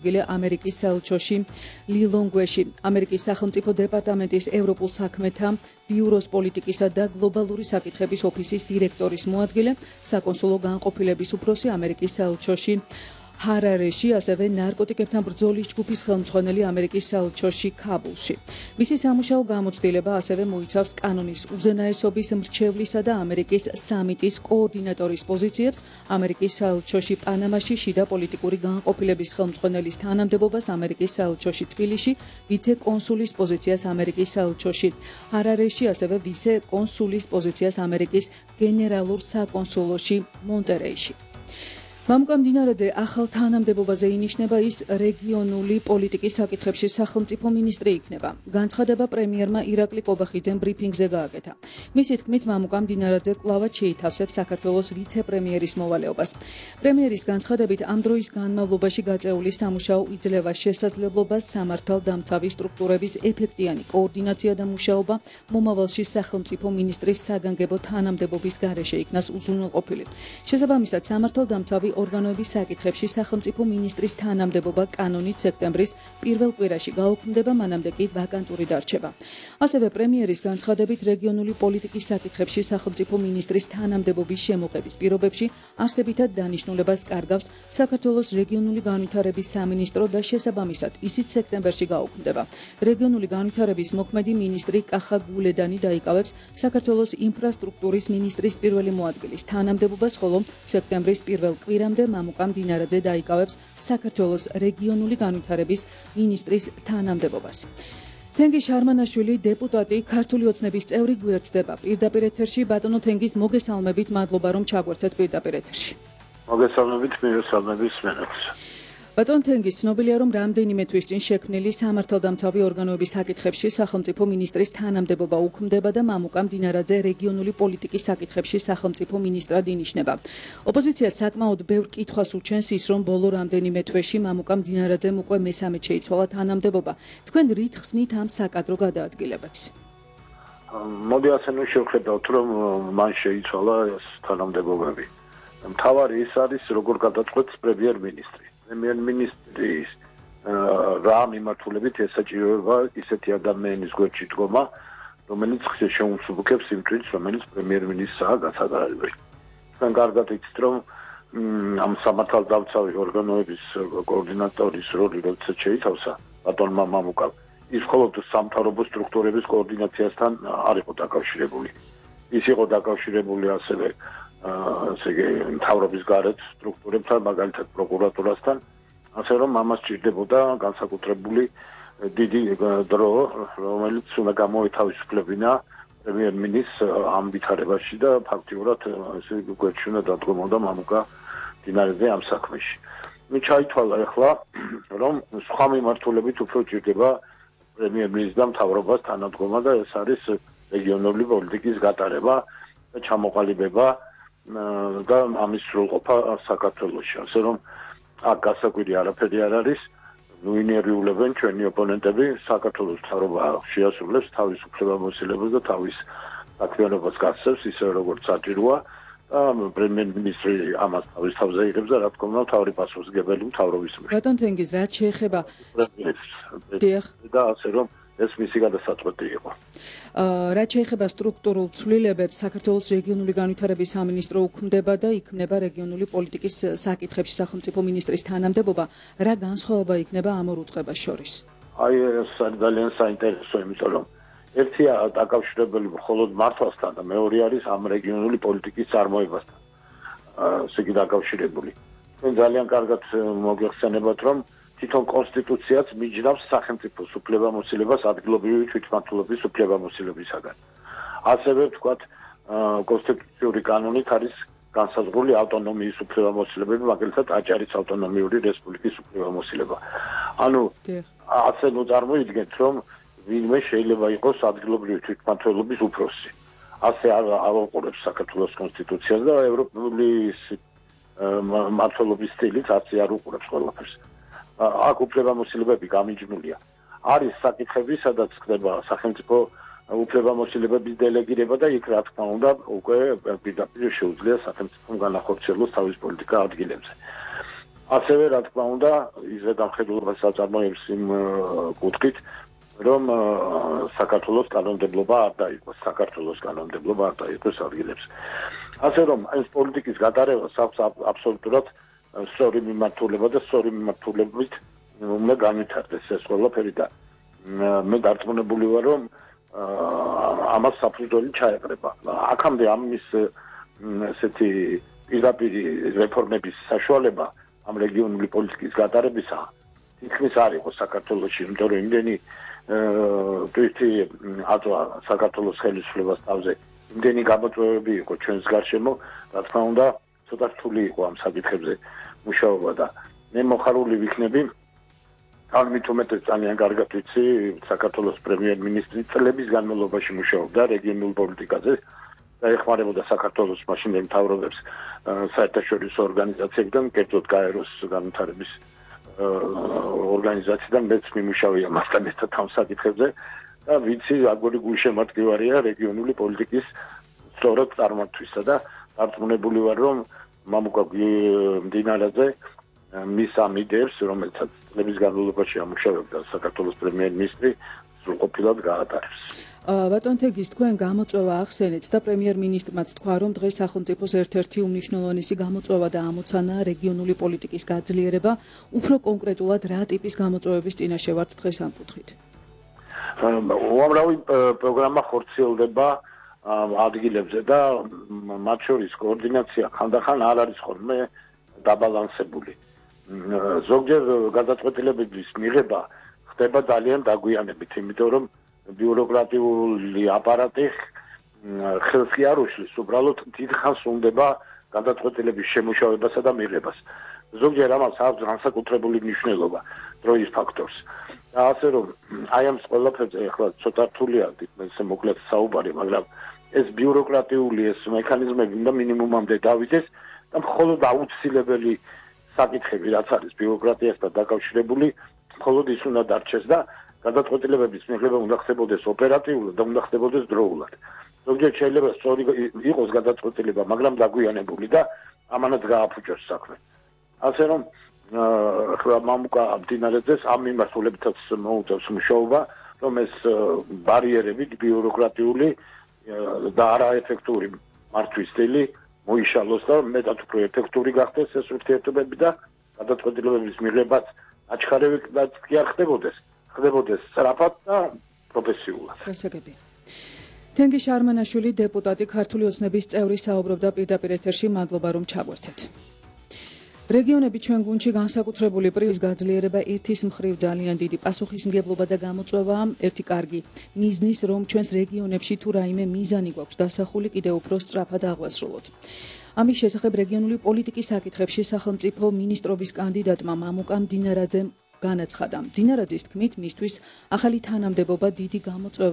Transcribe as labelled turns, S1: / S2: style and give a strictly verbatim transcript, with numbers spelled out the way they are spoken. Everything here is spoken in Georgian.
S1: ამერიკის საელჩოში ლილონგვეში ამერიკის სახელმწიფო დეპარტამენტის ევროპულ საქმეთა ბიუროს პოლიტიკისა და გლობალური საკითხების ოფისის დირექტორის მოადგილე, საკონსულო განყოფილების უფროსი ამერიკის საელჩოში ჰარარეში, ასევე ნარკოტიკებთან ბრძოლის ჯგუფის ხელმძღვანელი ამერიკის საელჩოში ქაბულში. მისი სამუშაო გამოცდილება ასევე მოიცავს კანონის უზენაესობის მრჩევლისა და ამერიკის სამიტის კოორდინატორის პოზიციებს, ამერიკის საელჩოში პანამაში შიდა პოლიტიკური განყოფილების ხელმძღვანელის თანამდებობას, ამერიკის საელჩოში თბილისში, ვიცე-კონსულის პოზიციას ამერიკის საელჩოში ჰარარეში, ასევე ვიცე-კონსულის პოზიციას ამერიკის გენერალურ საკონსულოში მონტერეიში. მამუკა მდინარაძე ახალ თანამდებობაზე ინიშნება, ის რეგიონული პოლიტიკის საკითხებში სახელმწიფო მინისტრი იქნება. განცხადება პრემიერმა ირაკლი კობახიძემ ბრიფინგზე გააკეთა. მისი თქმით, მამუკა მდინარაძე კვლავაც შეითავსებს საქართველოს ვიცე-პრემიერის მოვალეობას. პრემიერის განცხადებით, ამ დროის განმავლობაში გაწეული სამუშაო იძლევა შესაძლებლობას სამართალდამცავი სტრუქტურების ეფექტიანი კოორდინაცია და მუშაობა მომავალში სახელმწიფო მინისტრის საგანგებო თანამდებობის გარეშე იქნას უზრუნველყოფილი. შესაბამისად, სამართალდამცავი ორგანოების საკითხებში სახელმწიფო მინისტრის თანამდებობა კანონით სექტემბრის პირველ კვირაში გაუქმდება, მანამდე კი ვაკანტური დარჩება. ასევე პრემიერის განცხადებით, რეგიონული პოლიტიკის საკითხებში სახელმწიფო მინისტრის თანამდებობის შემოღების პირობებში არსებითად დანიშნულებას კარგავს საქართველოს რეგიონული განვითარების სამინისტრო და შესაბამისად ისიც სექტემბერში გაუქმდება. რეგიონული განვითარების მოქმედი მინისტრი კახა გულედანი დაიკავებს საქართველოს ინფრასტრუქტურის მინისტრის პირველი მოადგილის თანამდებობას, ხოლო სექტემბრის პირველ კვირამდე მამუკა მდინარაძე დაიკავებს საქართველოს რეგიონული განვითარების მინისტრის თანამდებობას. თენგიზ შარმანაშვილი, დეპუტატი, ქართული ოცნების წევრი გვერდდება პირდაპირ ეთერში. ბატონო თენგიზ, მოგესალმებით, მადლობა რომ ჩაგვერთეთ პირდაპირ ეთერში.
S2: მოგესალმებით, მირესალმების მენებს.
S1: ბატონ თენგიზ, ცნობილია, რომ რამდენიმე თვის წინ შექმნილი სამართალდამცავი ორგანოების საკითხებში სახელმწიფო მინისტრის თანამდებობა უქმდება და მამუკა მდინარაძე რეგიონული პოლიტიკის საკითხებში სახელმწიფო მინისტრად ინიშნება. ოპოზიცია საკმაოდ ბევრ კითხვას უჩენს ის, რომ ბოლო რამდენიმე თვეში მამუკა მდინარაძემ უკვე მესამედ შეიცვალა თანამდებობა. თქვენ რით ხსნით ამ საკადრო გადაადგილებებს?
S2: მოდი ასე ნუ შევხედავთ, რომ მან შეიცვალა ეს თანამდებობები. მთავარი ის არის, როგორ გადაწყვეტს პრემიერ-მინისტრი. პრემიერ-მინისტრის რა მიმართულებით ესაჭიროება ისეთი ადამიანის გვერდში დგომა, რომელიც შეუმსუბუქებს იმ წრეს, რომელიც პრემიერ-მინისტრაა გასაგარებელი. თქვენ კარგად იცით, რომ ამ სამართალდამცავი ორგანოების კოორდინატორის როლი როდესაც შეითავსა ბატონმა მამუკამ, ის მხოლოდ სამთავრობო სტრუქტურების კოორდინაციასთან არ იყო დაკავშირებული. ის იყო დაკავშირებული ასევე ასე იგი მთავრობის გარეთ სტრუქტურებთან, მაგალითად პროკურატურასთან, ასე რომ ამას ჭირდებოდა განსაკუთრებული დიდი დრო, რომელიც უნდა გამოეთავისუფლებინა პრემიერ-მინისტრს ამ ვითარებაში და ფაქტიურად ესე იგი გვერდში უნდა დადგომოდა მამუკა მდინარაძე ამ საქმეში. მე ჩაითვალა ახლა, რომ სხვა მიმართულებით უფრო ჭირდება პრემიერ-მინისტრს და მთავრობას თანადგომა და ეს არის რეგიონული პოლიტიკის გატარება და ჩამოყალიბება და ამის სრულყოფა საქართველოში. ასე რომ აქ გასაკვირი არაფერი არ არის. ნუინერიულებენ ჩვენი ოპონენტები, საქართველოს მთავრობა შეასრულებს თავის უფლებამოსილებას და თავის საქმიანობას გასცემს, ისე როგორც საჭიროა. პრემიერ-მინისტრი ამას თავის თავზე იღებს და რა თქმა უნდა მთავარი პასუხისმგებელი მთავრობის მიერ.
S1: ბატონ თენგიზ, რაც შეეხება
S2: და ასე რომ ეს მისი გადასაწყვეტი იყო.
S1: რაც შეეხება სტრუქტურულ ცვლილებებს, საქართველოს რეგიონული განვითარების სამინისტრო უქმდება და იქმნება რეგიონული პოლიტიკის საკითხებში სახელმწიფო მინისტრის თანამდებობა. რა განსხვავება იქნება ამ ორ უწყებას შორის?
S2: აი ეს ძალიან საინტერესო, იმიტომ რომ ერთია დაკავშირებული მხოლოდ მართვასთან და მეორე არის ამ რეგიონული პოლიტიკის წარმოებასთან. ესე იგი დაკავშირებული. თქვენ ძალიან კარგად მოგეხსენებათ, რომ თვითონ კონსტიტუციაც მიჯნავს სახელმწიფოს უფლებამოსილებას ადგილობრივი თვითმმართველობის უფლებამოსილებისაგან. ასევე ვთქვათ, კონსტიტუციური კანონით არის განსაზღვრული ავტონომიის უფლებამოსილებები, მაგალითად აჭარის ავტონომიური რესპუბლიკის უფლებამოსილება. ანუ ასე ნუ წარმოიდგენთ, რომ ვინმე შეიძლება იყოს ადგილობრივი თვითმმართველობის უფროსი. ასე არ აუყურებს საქართველოს კონსტიტუციას და ევროპული მმართველობის სტილით ასე არ უყურებს ყველაფერს. აქ უფლებამოსილებები გამიჯნულია. არის საკითხები, სადაც ხდება სახელმწიფო უფლებამოსილებების დელეგირება და იქ რა თქმა უნდა უკვე პირდაპირ შეუძლია სახელმწიფომ განახორციელოს თავის პოლიტიკა ადგილებზე. ასევე რა თქმა უნდა ის ზედამხედველობას აწარმოებს იმ კუთხით, რომ საქართველოს კანონმდებლობა არ დაიყოს, საქართველოს კანონმდებლობა არ დაიყოს ადგილებს. ასე რომ ეს პოლიტიკის გატარებას აქვს აბსოლუტურად სწორი მიმართულება და სწორი მიმართულებით უნდა განვითარდეს ეს ყველაფერი და მე დარწმუნებული ვარ, რომ ამას საფუძველი ჩაეყრება. აქამდე ამის ესეთი პირდაპირი რეფორმების საშუალება ამ რეგიონული პოლიტიკის გატარებისა თითქმის არ იყო საქართველოში, იმიტომ რომ იმდენი თვითი აწვა საქართველოს ხელისუფლებას თავზე იმდენი გამოწვევები იყო ჩვენს გარშემო, რა თქმა უნდა, ცოტა რთული იყო ამ საკითხებზე მუშაობა და მე მოხარული ვიქნები ან მით უმეტეს ძალიან კარგად ვიცი საქართველოს პრემიერ-მინისტრი წლების განმავლობაში მუშაობდა რეგიონულ პოლიტიკაზე და ეხმარებოდა საქართველოს მაშინდელ მთავრობებს საერთაშორისო ორგანიზაციებიდან, კერძოდ გაეროს განვითარების ორგანიზაციიდან მეც მიმუშავია მასთან ერთად ამ საკითხებზე და ვიცი აგური გულშემატკივარია რეგიონული პოლიტიკის სწორად წარმართვისა და დარწმუნებული ვარ, რომ მამუკა მდინარაძე მის ამ იდეებს, რომელსაც წლების განმავლობაში ამუშავებდა საქართველოს პრემიერ-მინისტრი, სრულყოფილად გაატარებს.
S1: ბატონ თეგის, თქვენ გამოწვევა ახსენეთ და პრემიერ-მინისტრმაც თქვა, რომ დღეს სახელმწიფოს ერთ-ერთი უმნიშვნელოვანესი გამოწვევა და ამოცანაა რეგიონული პოლიტიკის გაძლიერება. უფრო კონკრეტულად რა ტიპის გამოწვევების წინაშე ვართ დღეს ამ კუთხით?
S2: უამრავი პროგრამა ხორციელდება ადგილებზე და მათ შორის კოორდინაცია ხანდახან არ არის ხოლმე დაბალანსებული. ზოგჯერ გადაწყვეტილებების მიღება ხდება ძალიან დაგვიანებით, იმიტომ რომ ბიუროკრატიული აპარატი ხელს კი არ უშლის, უბრალოდ დიდხანს უნდება გადაწყვეტილების შემუშავებასა და მიღებას. ზოგჯერ ამას აქვს განსაკუთრებული მნიშვნელობა, დროის ფაქტორს. და ასე რომ აი ამ ყველაფერზე ახლა ცოტა რთულია ისე მოკლედ საუბარი, მაგრამ ეს ბიუროკრატიული ეს მექანიზმები უნდა მინიმუმამდე დავიდეს და მხოლოდ აუცილებელი საკითხები, რაც არის ბიუროკრატიასთან დაკავშირებული, მხოლოდ ის უნდა დარჩეს და გადაწყვეტილებების მიღება უნდა ხდებოდეს ოპერატიულად და უნდა ხდებოდეს დროულად. ზოგჯერ შეიძლება სწორი იყოს გადაწყვეტილება, მაგრამ დაგვიანებული და ამანაც გააფუჭოს საქმე. ასე რომ ახლა მამუკა მდინარაძეს ამ მიმართულებითაც მოუწევს მუშაობა, რომ ეს ბარიერები ბიუროკრატიული და არაეფექტური მართვის სტილი მოიშალოს და მეტად უფრო ეფექტური გახდეს ეს ურთიერთობები და გადაწყვეტილებების მიღებაც აჩქარებად კი არ ხდებოდეს, ხდებოდეს სწრაფად და პროფესიულად.
S1: გასაგებია. თენგიზ არმანაშვილი, დეპუტატი, ქართული ოცნების წევრი, საუბრობდა პირდაპირ ეთერში. მადლობა, რომ ჩაგვერთეთ. რეგიონები ჩვენ გუნდში განსაკუთრებული პრივის გაძლიერება ერთის მხრივ ძალიან დიდი პასუხისმგებლობა და გამოწვევაა. ერთი კარგი მიზნის, რომ ჩვენს რეგიონებში თუ რაიმე მიზანი გვაქვს დასახული, კიდევ უფრო სწრაფად აღვასრულოთ. ამის შესახებ რეგიონული პოლიტიკის საკითხებში სახელმწიფო მინისტრობის კანდიდატმა მამუკა მდინარაძემ განაცხადა. მდინარაძის თქმით, მისთვის ახალი თანამდებობა დიდი გამოწვევა